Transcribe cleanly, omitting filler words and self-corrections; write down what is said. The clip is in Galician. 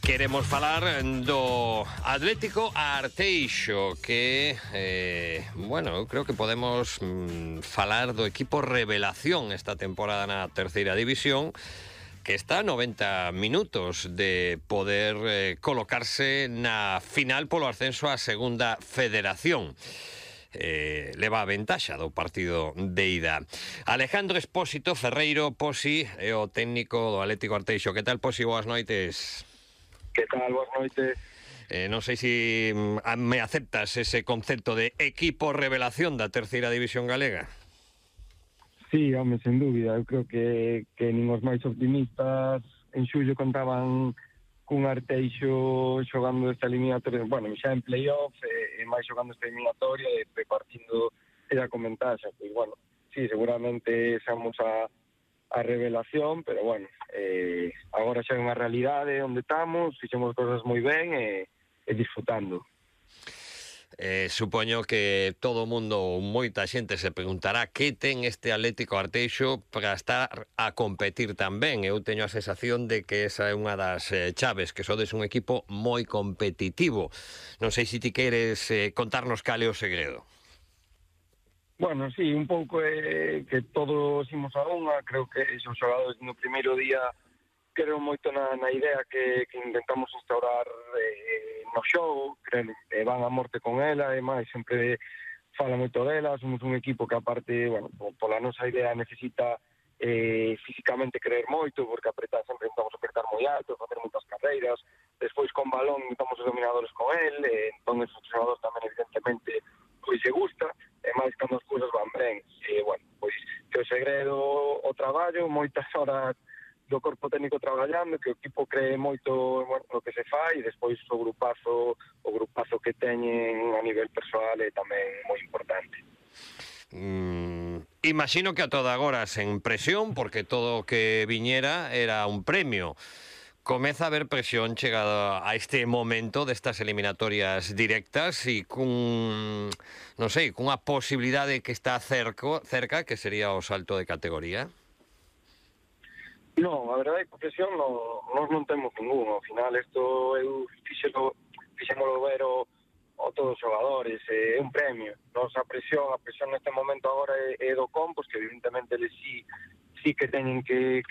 Queremos falar do Atlético Arteixo, que, bueno, eu creo que podemos falar do equipo revelación esta temporada na terceira división, que está a 90 minutos de poder colocarse na final polo ascenso á segunda federación. Leva a ventaxa do partido de ida. Alejandro Espósito Ferreiro, Posi, é o técnico do Atlético Arteixo. Que tal, Posi? Boas noites. Que tal? Boas noites. Non sei se me aceptas ese concepto de equipo revelación da terceira división galega. Sí, home, sen dúbida. Eu creo que nin os máis optimistas en xullo contaban cun Arteixo xogando esta eliminatoria, bueno, xa en playoff, e máis xogando esta eliminatoria e partindo era con ventaxa. Pois, bueno, sí, seguramente xamos a revelación, pero bueno, agora xa é unha realidade onde estamos, fixemos cosas moi ben e disfrutando. Supoño que todo o mundo, moita xente se preguntará que ten este Atlético Arteixo para estar a competir tamén. Eu teño a sensación de que esa é unha das chaves, que sodes un equipo moi competitivo. Non sei se ti queres contarnos cal é o segredo. Bueno, sí, un pouco que todos imos a unha. Creo que os xogadores no primeiro día creo moito na idea que intentamos instaurar no xogo, van a morte con ela, e máis sempre fala moito dela. Somos un equipo que aparte, bueno, pola nosa idea necesita físicamente creer moito, porque sempre intentamos apretar moi alto, facer moitas carreiras, despois con balón intentamos os dominadores con el, entón os xogadores tamén evidentemente pois se gusta, e máis cando as cousas van ben. Bueno, pois que o segredo o traballo, moitas horas do corpo técnico traballando, que o equipo cree moito, bueno, no que se fai, e despois o grupazo que teñen a nivel persoal é tamén moi importante. Imagino que a toda agora sen presión, porque todo o que viñera era un premio. Comeza a haber presión chegada a este momento destas eliminatorias directas e non sei, cunha posibilidade que está cerca, que sería o salto de categoría? Non, a verdade é que presión nós non temos ningún. Ao final, isto eu fixémolo ver a todos os xogadores, é un premio. A presión neste momento agora é do Compos, que evidentemente eles sí que teñen que